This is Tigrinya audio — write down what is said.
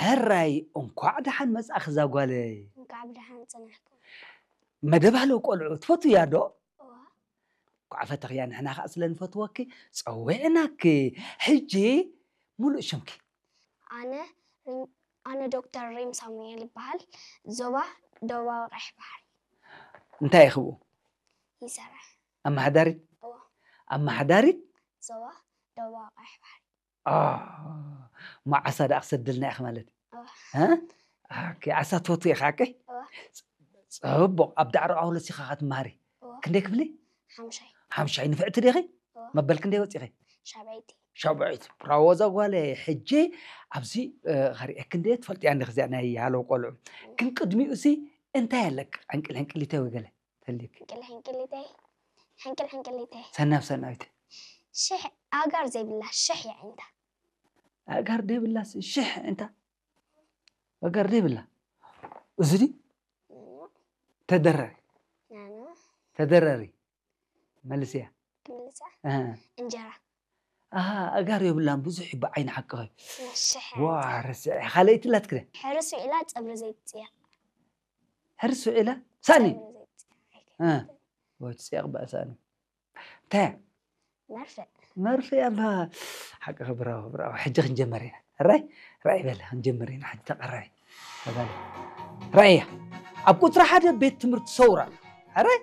ሕራይ፣ እንኳዕ ደሓን መጻእኺ እዛ ጓለይ። እንኳዕ ብደሓን ጽናሕኩም። መደብ ሃለው ቆልዑ ትፈትውያ ዶ? እዋ እንኳዕ ፈተኽያ፣ ንሕና ኸዓ ስለ ንፈትወኪ ጸዊዕናኪ። ሕጂ ሙሉእ ሽምኪ? ኣነ ሪም- ኣነ ዶክተር ሪም ሳሙኤል ይበሃል። ዞባ ደቡባዊ ቀይሕ ባሕሪ እንታይ ኢኺ ብኡ? ይሰርሕ። ኣመሓዳሪት? እዋ ኣመሓዳሪት? ዞባ ደቡባዊ ቀይሕ ባሕሪ። አ፣ እሞ ዓሳ ደኣ ክሰደልና ኢኺ ማለት እዩ? እዋ እ? ኦኬ፣ ዓሳ ትፈትዊ ኢኺ ሓቀይ? እዋ ጽቡቕ። ኣብ ዳዕሮ ኣውሎስ ኢኻ ትመሃሪ? እዋ ክንደይ ክፍሊ? ሓምሻይ ሓምሻይ። ንፍዕቲ ዲኺ? እዋ መበል ክንደይ ወጺኺ? ሻብዐይቲ። ሻብዐይቲ። ብራቮ እዛ ጓለይ። ሕጂ ኣብዚ እ፣ ከርእየኪ እንደ ትፈልጥያ እንዲኺ እዚኣ ናይ ሃለው ቆልዑ። ግን ቅድሚኡ ሲ እንታይ ኣለኪ? ሕንቅል ሕንቅሊተይ ወይ ገለ ተልዩኪ? ሕንቅል ሕንቅሊተይ ሕንቅል ሕንቅሊተይ ሰናብ ሰናቢት። ሽሕ ኣጋር ዘይብላ ሽሕ የዒንታ። ኣጋር ዘይብላስ ሽሕ እንታ? ኣጋር ዘይብላ። እዚ ድዩ? ተደረሪ። ናና ተደረሪ። መልስያ። ክምልሳ እ። እንጀራ ኣሃ፣ ኣጋር የብላን ብዙሕ እዩ ብዓይኒ ሓቅኺ። ሽሕ ዋ፣ ረስዐ። ካልኣይቲ ላትክደ? ሕርስ ኢላ ጸብሪ ዘይትጽየቕ። ሕርስ ውዒላ? ሳኒ? ጸብሪ ዘይትጽየቕ። እ። ወይ ትጽየቕ በኣ ሳኒ። እንታይ? መርፍእ መርፍእ ኣባ። ሓቅኺ፣ ብራቮ፣ ብራቮ። ሕጂ ክንጀምር ኢና። ራይ? ራይ በለ፣ ክንጀምር ኢና። ሕጂ ተቐራይ። ተባለ። ራእያ። ኣብ ቁጽሪ ሓደ ቤት ትምህርቲ ሰውራ። ራይ?